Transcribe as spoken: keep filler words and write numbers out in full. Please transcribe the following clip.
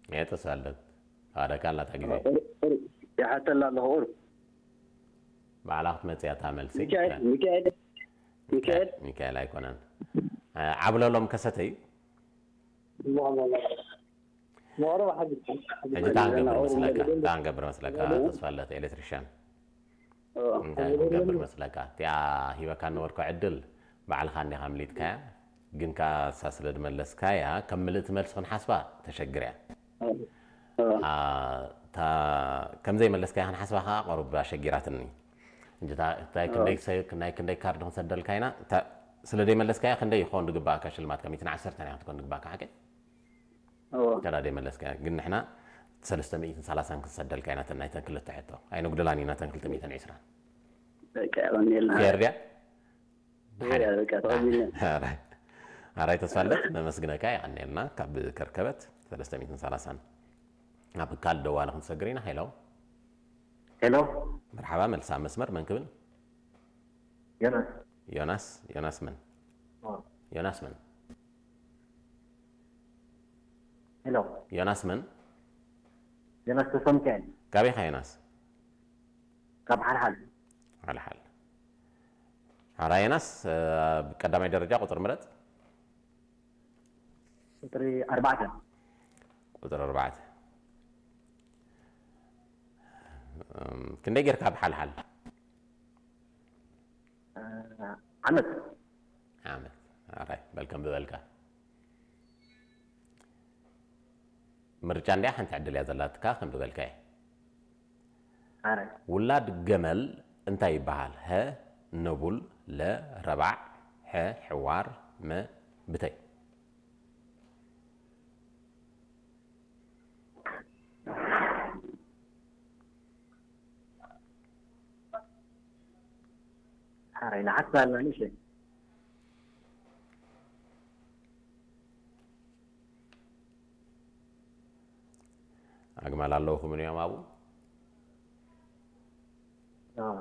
እየ ተሳለት። አደካ ላታ ጊዜ ቁር-፣ ቁር-፣ የሐተላ ለሁ ቁር-፣ ባዕላ ክትመጽእ እታ መልሲ። ሚካኤል፣ ሚካኤል፣ ሚካኤል። ሚካኤል አይኮነን። አ፣ ዓብለሎም ከሰተዩ። ሞሮ ሐቢብ። ሕጂ ታንገብር መስለካ፣ ታንገብር መስለካ፣ ተስፋለት ኤሌክትሪሻን። ኦ። እንታይ ክንገብር መስለካ? እቲኣ ሂበካ ነበርኮ ዕድል፣ ባዕልኻ እንዲኻ ምሊጥካያ፣ ግን ከኣ እሳ ስለ ድመለስካያ፣ ከም ምልእቲ መልሲ ክንሓስባ ተሸግር እያ። ኦ። ኦ። አ፣ እታ ከም ዘይመለስካያ ክንሓስባ ከኣ ቁሩብ ኣሸጊራትኒ። እንጂ እታ፣ እንታይ ኦ። ክንደይ ሰ-፣ ናይ ክንደይ ካርድ ክንሰደልካ ኢና፣ እታ ስለ ዘይመለስካያ ክንደይ ይኸውን ድግበኣካ ሽልማት? ከም ሚእትን ዓሰርተን እያ ክትኮን ድግበኣካ፣ ሓቂ? እወ። ከዳዴ መለስካ። ግን ንሕና ሰለስተ ሚእትን ሰላሳን ክንሰደልካ ኢና፣ ናይተን ክልተ ሕቶ። ኣይነጉድላን ኢና፣ ተን ክልተ ሚእትን ዕስራን። በቃ፣ የቐንየልና። ፌር ድያ? እወ፣ ሓደ። በቃ፣ ተቐቢልና። ኣራይ። ኣራይ ተስፋለት፣ ነመስግነካ፣ የቐንየልና፣ ካብ ከርከበት ሰለስተ ሚእትን ሰላሳን። ኣብ ካልእ ደዋለ ክንሰግር ኢና። ሄሎ። ሄሎ። መርሓባ፣ መልስ ኣብ መስመር፣ መን ክብል? ዮናስ። ዮናስ፣ ዮናስ መን? ኦ። ዮናስ መን? ሄሎ። ዮናስ መን? ዮናስ ተስፋሚካኤል። ካበይ ኢኻ ዮናስ? ካብ ሓልሓል። ሓልሓል። ሓራ ዮናስ፣ እ፣ ቀዳማይ ደረጃ ቁጽሪ ምረጽ። ቁጽሪ ኣርባዕተ። ቁጽሪ ኣርባዕተ። እም፣ ክንደይ ጌርካ ኣብ ሓልሓል? እ፣ ዓመት። ዓመት። ኣራይ፣ በል ከም ዝበልካ። ምርጫ እንድያ ሓንቲ ዕድል እያ ዘላትካ፣ ከም ዝበልካዮ። ኣራይ። ውላድ ገመል እንታይ ይበሃል? ሀ፣ ነቡል፣ ለ፣ ረባዕ፣ ሐ፣ ሕዋር፣ መ፣ ብተይ። ሐራይ ለሐሳብ ማለሽ። አግማል አለውኹም ምን ዮም አቡ? አዎ።